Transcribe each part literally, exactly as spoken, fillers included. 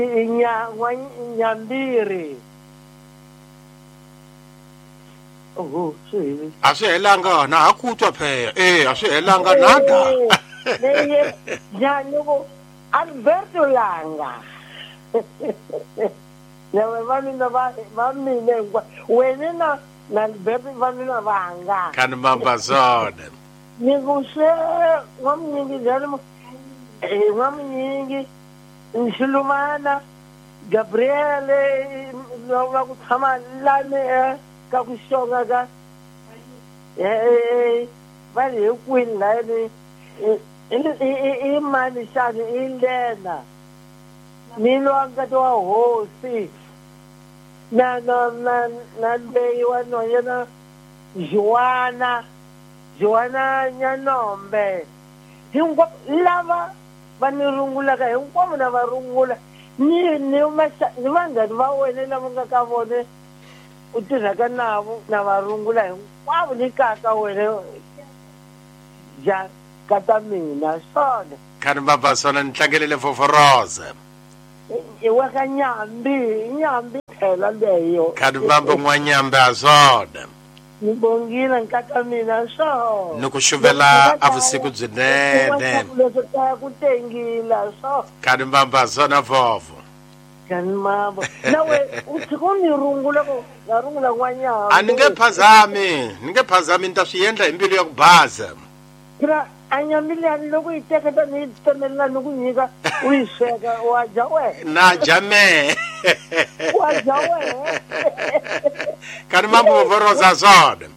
Nya Nyambiri. Oho, swi a swi helanga na ha ku twa phela eh a swi helanga nada. Leye ja loko Alberto Langa. Lava va mina va va mina wena na na Alberto va mina vanga. Kan mamba zona. Ni ku se wa mnyingi njalo eh wa mnyingi Nxilumana Gabriele va ku tshama lani ka ku xonga ka eh va le kwini lani i mani xana i Lena ni lwanga wa hosi na na na na leyi wa nhwanyana Joana Joana Nyanombe hinkwavo lava va ni rungulaka hinkwavo na va rungula ni ni ni vanghani va wena lava nga ka vona u tirhaka navo na va rungula hinkwavo ni kaka wena ja kata mina swona. Khani baba swona ni tlangelele foforoza i wa ka Nyambi Nyambi phela leyo. Khani baba n'wanyambi a swona ni bongile nkata mina swona ni ku xuvela a vusiku byinene leswo kaya ku tengila swo. Khani baba swona fofo. Khani mamba nawe u tshika u ni rungula ku nga rungula n'wanyambi. A ni nge phazami ni nge phazami ni ta swi endla hi mbilu ya ku baza. Phela a nyambi liyani loko yi teka tani yi tsemelela ni ku nyika u yi sweka wa dya wehe. Na dya mehe. Wa dya wehe. Khani mambo vovoroza swona.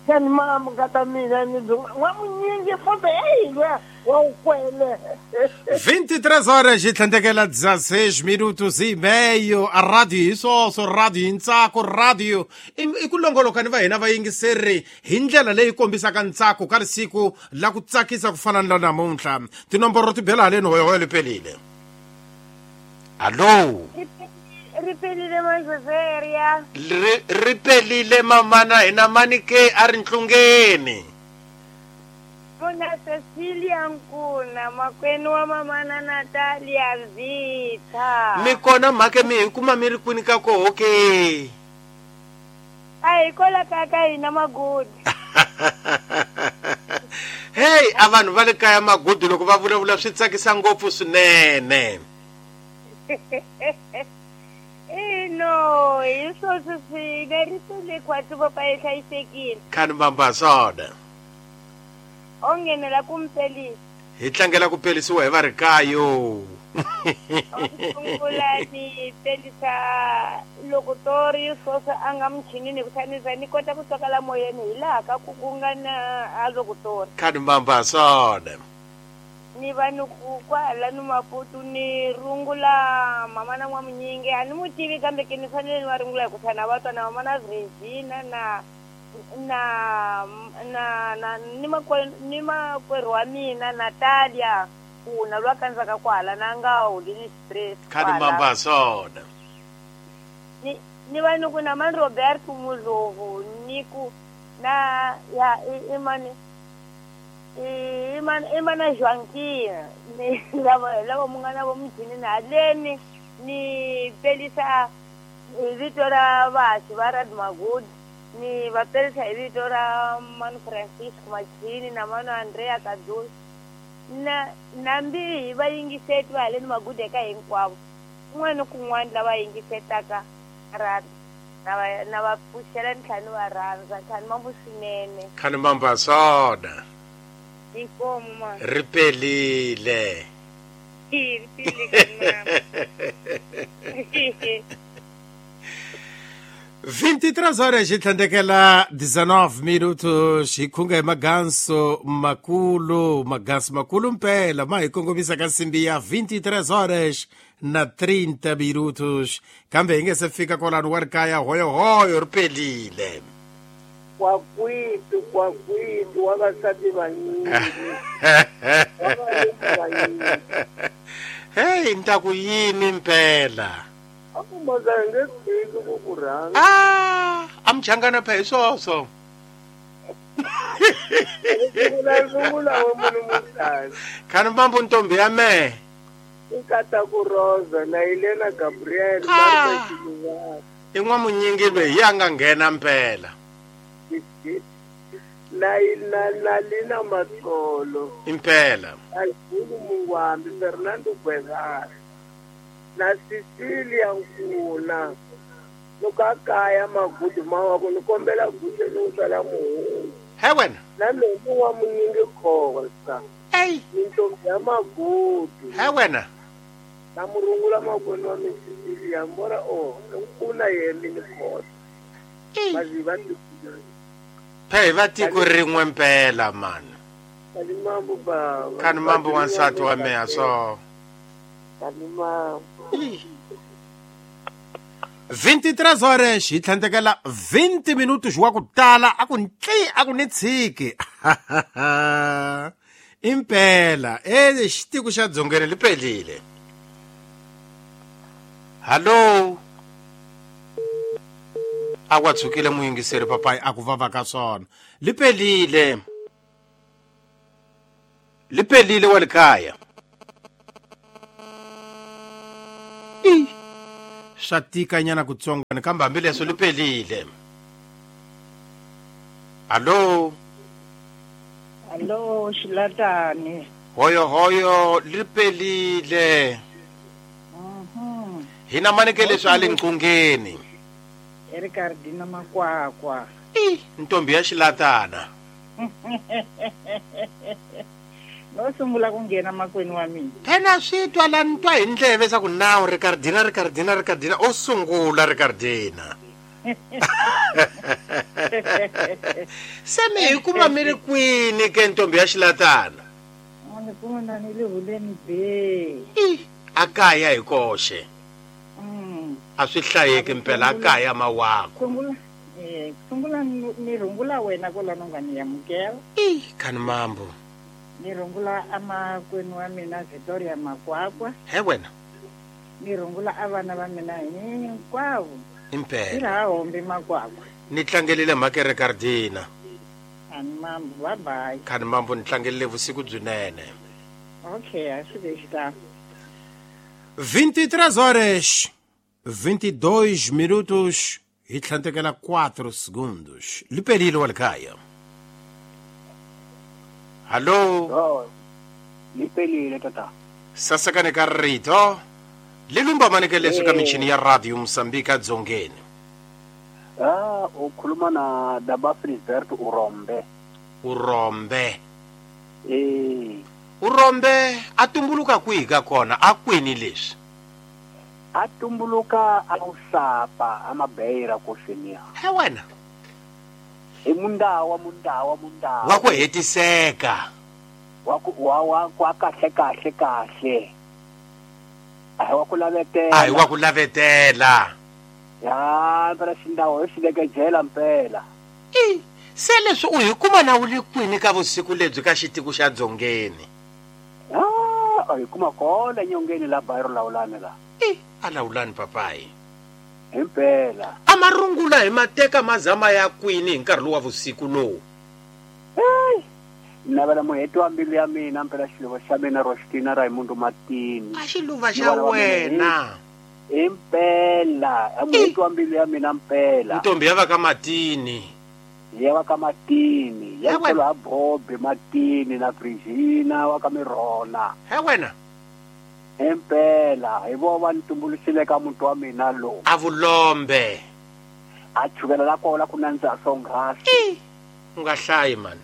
Khani mambo nkata mina ni n'wamunyingi futhi eyi luya wa wu kwele. vinte e três horas e tlhandlekela dezesseis minutos e meio. A rádio hi swoswo, rádio hi ntsako, rádio i ku longoloka ni va hina vayingiseri hi ndlela leyi kombisaka ntsako ka risiku la ku tsakisa ku fana ni la namuntlha. Tinomboro ti bela haleni hoyohoyo li pelile. Allo. Ri pelile Majoseria. Ri ri pelile mamana hina mani ke a ri ntlungeni. Mona Cecilia Nkuna makwenu wa mamana Natalia Zitha. Mi kona mhake mi hi kuma mi ri kwini ka koho ke? A hi kola ka ka hina Magudi. Hey, a vanhu va le kaya Magudi loko va vulavula swi tsakisa ngopfu swinene. Eh no, hi swoswo swi nga ri pele khwatsi papa yi hlayisekile. Khani mbamba swona. O nghenela ku mpelisa. Hi tlangela ku pelisiwa hi va ri kayo. Sungula ni pelisa loko tori swoswo a nga muchinini kutani ni kota ku twakala moyeni hi laha ka ku ku nga na a loko tori. Khani mbamba swona. Ni va ni ku kwala ni Maputo ni rungula mama na n'wamunyingi a ni mu tivi kambe ke ni fanele ni va rungula hi ku tlhana va twa na mama na Regina na na na na ni makwerhu ni makwerhu wa mina Natalia kuna lwa kandzaka kwala na nga holini stress. Khani mbamba swona. Ni ni va ni ku na mani Roberto Mudlovu ni ku na ya i mani imana imana Joaquina ni lava lava mungana vo muchini na haleni ni pelisa hi vito ra vaxi va Rad Magudi ni va pelisa hi vito ra Manu Francisco Machini na Manu Andrea Kadulu na nambi hi va yingiseti va haleni Magudi eka hinkwavo kun'wana ni kun'wana lava yingisetaka rad na va na va pfuxela ni tlhela ni va rhandza tlhela mambu swinene. Khani mbamba swona. Inkomo ma. Ri pelile. Ri pelile kana. vinte e três horas e tlhandlekela dezenove minutos hi khunga hi maganso makulu maganso makulu mpela ma hi kongomisa ka nsimbi ya vinte e três horas na trinta minutos kambe hi nge se fika kwalano wa ri kaya hoyohoyo ri pelile. Kwakwiti kwakwiti wa vasati vanyingi. Hey, ni ta ku yini mpela? A ku maza hi nge tshiki ku ku rhandza. Ah, a muchangana phe hi swoswo. Rungula wa munhu mutani. Khani mbambu ntombi ya mehe. Nkataku Rosa na Elena Gabriel Marta Xiluvana. I n'wamunyingi loyi ya nga nghena mpela. Na na na Lina Matsolo. Impela. Alfulu Mungwambi Fernando Guevara. Na Cecilia Nkuna. Luka kaya magudu mawa ku ni kombela guxe ni sala muhungu. He wena. Na lowu wa munyingi Khosa. Ey. Mintombi ya magudu. He wena. Na murungula makwenu wa Cecilia mbora o nkuna yemi ni Khosa. Bazi va Phe va tiko rin'we mpela man. Kani mambo baba. Kani mambo wansati wa meya so. Kani mambo. vinte e três horas hi tlhandlekela vinte minutos wa ku tala a ku ntli a ku ni tshiki. Impela e xitiko xa dzongeni li pelile. Hallo. A wa tshukile muyingiseri papai a ku vava ka swona. Li pelile. Li pelile wa le kaya. Swa tikanyana kutsongwana kambe hambileswo li pelile. Hallo. Hallo Xilatani. Hoyo hoyo li pelile. Mhm. Hina maneke leswi a le nqungeni. Ricardina Makwakwa. I ntombi ya Xilatana. No sungula ku nghena makwenu wa mina. Phela swi twa la ni twa hi ndleve swa ku nawu Ricardina Ricardina Ricardina o sungula Ricardina. Se mi hi kuma mi ri kwini ke ntombi ya Xilatana? Ni kuma na ni le huleni be. I a kaya hi koxe. Mm. A swi hlayeki mpela a kaya mawako. Sungula eh sungula ni rungula wena kwalano nga ni amukela. I khani mambo. Ni rungula amakwenu wa mina Victoria Makwakwa. He wena. Ni rungula avana va mina hinkwavo. Impela. Ira hombi Makwakwa. Ni tlangelile mhaka Ricardina. Khani mambo bye bye. Khani mambo ni tlangelile vusiku byinene. Okay, a swi ve xitalo. vinte e três horas vinte e dois minutos hi tlhandlekela quatro segundos. Li pelile wa le kaya. Hallo. Oh, li pelile tata. Sasekane ka rito. Li lumba maneke leswi ka michini ya radio Mozambique dzongeni. Ah, ukhuluma na Daba Frisbert Urombe. Urombe. Eh. Urombe a tumbuluka kwihi ka kona a kwini leswi? A tumbuluka a usapa amabeira koxenia. He wena. I mundawa mundawa mundawa. Wa ku hetiseka. Wa ku wa wa kwa kahle kahle kahle. A wa ku lavetela. A wa ku lavetela. Ya, phela xindawo xi leke jela mpela. I se leswi u hi kuma na wu le kwini ka vusiku lebyi ka xitiko xa dzongeni? Ah, a hi kuma kona nyongeni la bayro lawulani la. I a lawulani papai. Impela. A marungula hi mateka mazama ya kwini hi nkarhi lowu wa vusiku lowu? Hey, navela muheti wa mbilu ya mina mpela xiluva xa mina Rostina Raimundo Matini. A xiluva xa wena. Impela, a muheti wa mbilu ya mina mpela. Ntombi ya va ka Matini. Ya va ka Matini, ya tsolo ha Bobi Matini na Virginia wa ka Mirona. He wena. Impela, hi vo va ni tumbuluxile ka muti wa mina lowu. A vulombe. A chukela la kona ku nandziha swonghasi. U nga hlayi man.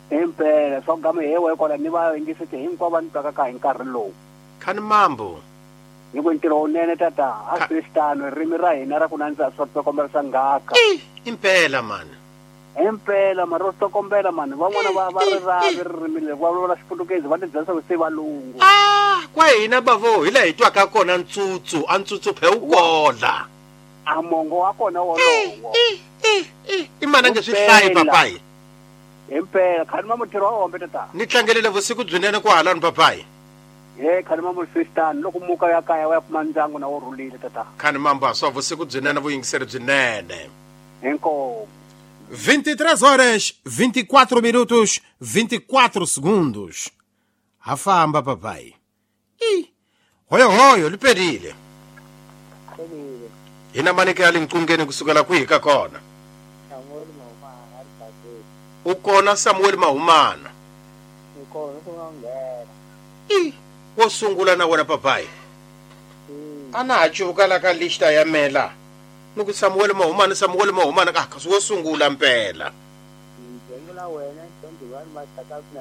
Impela, swa gama he we kona ni va yingisete hinkwavo va ni twaka ka hi nkarhi lowu. Khani mambo. Ni ku ntirho wunene tata, a swi xitano ririmi ra hina ra ku nandziha swa tsokombela swa ngaka. Impela man. Impela mara ro tsokombela man, van'wana va va ri ravi ririmi leri va vulavula xiputukezi va tibyela swa ku se valungu. Ah, kwa hina bavo hi laha hi twaka kona ntsutsu, a ntsutsu phe wu kola. A mongo wa kona wolowo. I mana nge swi hlayi papai. Impela, khani ma mutirho wa hombe tata. Ni tlangelile vusiku byinene ku halani papai. Ye khani ma musistani loko muka ya kaya wa ya kuma ndyangu na wo rhulile tata. Khani mambo swa vusiku byinene vuyingiseri byinene. Inkomu. vinte e três horas, vinte e quatro minutos, vinte e quatro segundos. Ha famba papai. I Hoyo hoyo liperile. Pelile. Hina maneke ya linqungeni kusukela kwihi ka kona? Samuel Mahumana ari Bazeli. U kona Samuel Mahumana. Ni kona ku nga nghena. I wo sungula na wena papai. Mm. A na ha cuvuka la ka lista ya mela. Ni ku Samuel Mahumana Samuel Mahumana ka kasi wo sungula mpela. Ni sungula wena twenty-one Masaka na